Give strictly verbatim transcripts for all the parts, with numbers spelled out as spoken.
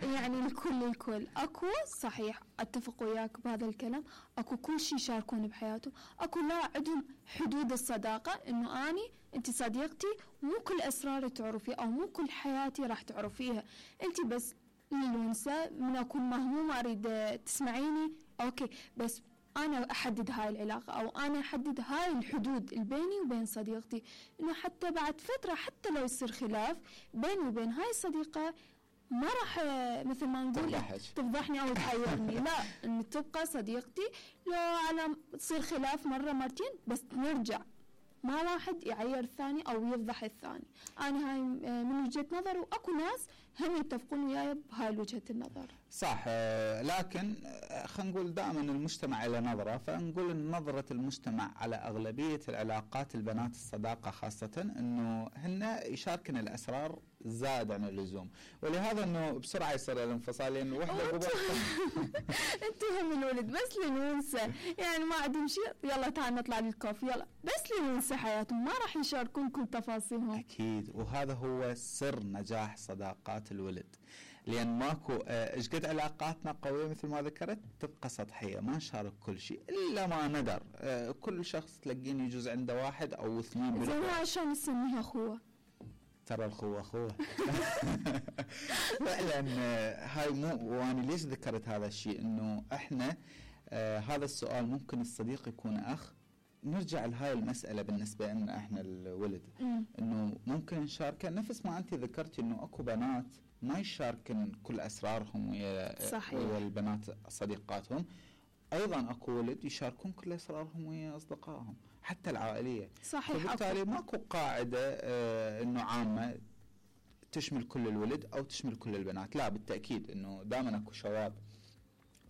يعني الكل الكل اكو صحيح اتفق وياك بهذا الكلام، اكو كل شيء يشاركون بحياتهم، اكو لا عندهم حدود الصداقة، انه اني انت صديقتي مو كل اسراري تعرفي او مو كل حياتي راح تعرفيها، انت بس للونسة من اكون مهمومة اريد تسمعيني اوكي، بس انا احدد هاي العلاقة او انا احدد هاي الحدود البيني وبين صديقتي، انه حتى بعد فترة حتى لو يصير خلاف بيني وبين هاي الصديقة ما راح مثل ما نقول تفضحني او تحيرني، لا ان تبقى صديقتي، لو على تصير خلاف مرة مرتين بس نرجع، ما واحد يعير الثاني او يفضح الثاني. انا هاي من وجهة نظر، واكو ناس هم يتفقون وياي بهاي وجهة النظر. صح، لكن خلينا نقول دائما المجتمع له نظرة، فنقول ان نظرة المجتمع على اغلبية العلاقات البنات الصداقة خاصة انه هن يشاركن الاسرار زاد عن اللزوم، ولهذا انه بسرعة يصير الانفصال، لان وحدة انتوا هم الولد بس للونسة، يعني ما عندهم شيء، يلا تعال نطلع للكوفي يلا، بس للونسة حياتهم، ما راح يشاركون كل تفاصيلهم. اكيد، وهذا هو سر نجاح صداقات الولد، لان ماكو ايش قد علاقاتنا قوية مثل ما ذكرت تبقى سطحية، ما نشارك كل شيء الا ما ندر، اه كل شخص تلاقين يجوز عنده واحد او اثنين. زين عشان نسميها اخوة، ترى الخوة اخوة. فعلا هاي مو، وانا ليش ذكرت هذا الشيء انه احنا اه هذا السؤال ممكن الصديق يكون اخ، نرجع لهاي المسألة بالنسبة لنا احنا الولد، انه ممكن نشارك نفس ما انت ذكرتي انه اكو بنات ما يشاركن كل اسرارهم ويا ويا البنات صديقاتهم، ايضا اكو ولد يشاركون كل اسرارهم ويا اصدقائهم حتى العائلية. صحيح، فبالتالي ماكو قاعدة اه انه عامة تشمل كل الولد او تشمل كل البنات، لا بالتأكيد انه دائما اكو شواذ.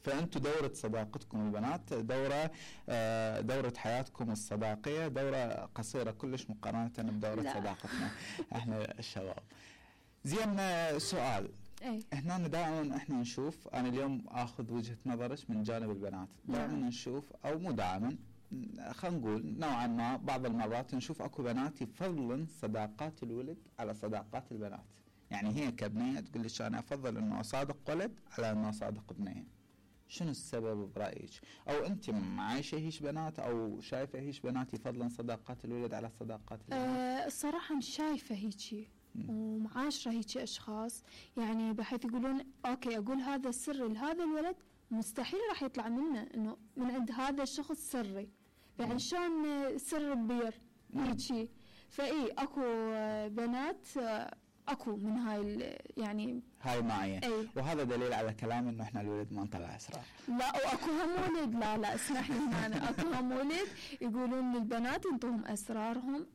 فأنتوا دورة صداقتكم البنات دورة دورة حياتكم الصداقية دورة قصيرة كلش مقارنة بدورة لا. صداقتنا احنا الشباب. زين، سؤال ايه؟ احنا دائما احنا نشوف، انا اليوم اخذ وجهة نظرك من جانب البنات، دائما نشوف او مو دائما، خلينا نقول نوعا ما بعض المرات نشوف اكو بنات يفضلن صداقات الولد على صداقات البنات، يعني هي كبنية تقول لي انا افضل انه اصادق ولد على انه اصادق بنية. شنو السبب برأيك؟ او انت عايشه هيش بنات او شايفه هيش بنات يفضلن صداقات الولد على صداقات البنات؟ أه الصراحه مش شايفه هيجي ومعاشره هيجي اشخاص، يعني بحيث يقولون اوكي اقول هذا السر لهذا الولد مستحيل راح يطلع منه انه من عند هذا الشخص سري، يعني شلون سر كبير هيجي. فاي اكو بنات اكو من هاي يعني هاي معي أي. وهذا دليل على كلام انه احنا الولد ما نطلع اسرار. لا واكو هم ولد، لا لا اسمح لي هنا، اكو هم ولد يقولون للبنات انتم اسرارهم،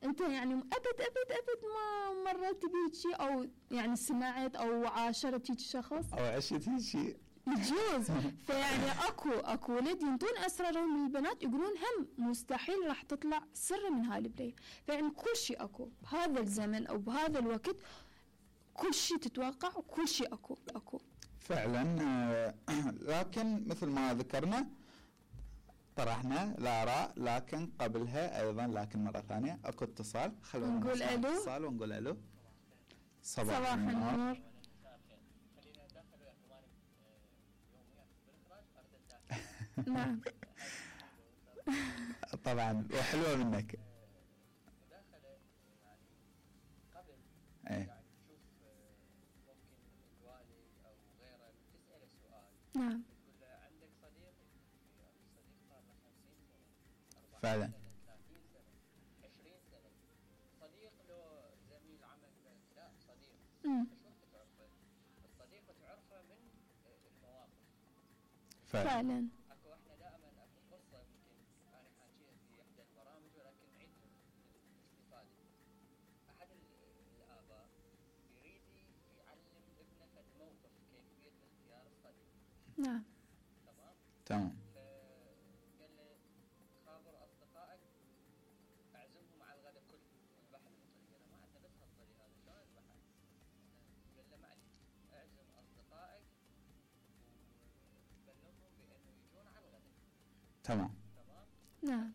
انت يعني ابد ابد ابد ما مرت بيك او يعني سمعت او عاشرت هيك شخص او عشت هيك شيء يجوز. فيعني اكو اكو ولد ينطون اسرارهم للبنات يقولون هم مستحيل راح تطلع سر من هاي البنية. فيعني كل شيء اكو بهذا الزمن او بهذا الوقت، كل شيء تتوقع وكل شيء اكو اكو فعلا. لكن مثل ما ذكرنا طرحنا الآراء، لكن قبلها ايضا لكن مرة ثانية اكو اتصال، خلونا نقول الو اتصال ونقول الو. صباح, صباح النور. نعم طبعا وحلوة منك. مداخلة يعني قبل ايه يعني تشوف ممكن الوالد او غيره تسأله سؤال، نعم تقول له عندك صديق، صديق صار له خمسين سنة فعلا سنة ثلاثين سنة عشرين سنة، صديق له زميل عمل لا صديق ايش وقت تعرفه؟ الصديق تعرفه من المواقف فعلا, فعلا. اكو احنا دائما اكو قصة يمكن انا حاكيها في احدى البرامج ولكن نعيدها للاستفادة. احد الاباء يريد يعلم ابنه فد موقف كيفية اختيار الصديق. نعم تمام تمام. فقال له خابر اصدقائك اعزمهم على الغداء كله واذبح لهم طريق. انا ما عندنا بس هالطريق هذا شلون اذبحه؟ قال له معلي اعزم اصدقائك وبلغهم بانه يجون على الغداء. تمام تمام نعم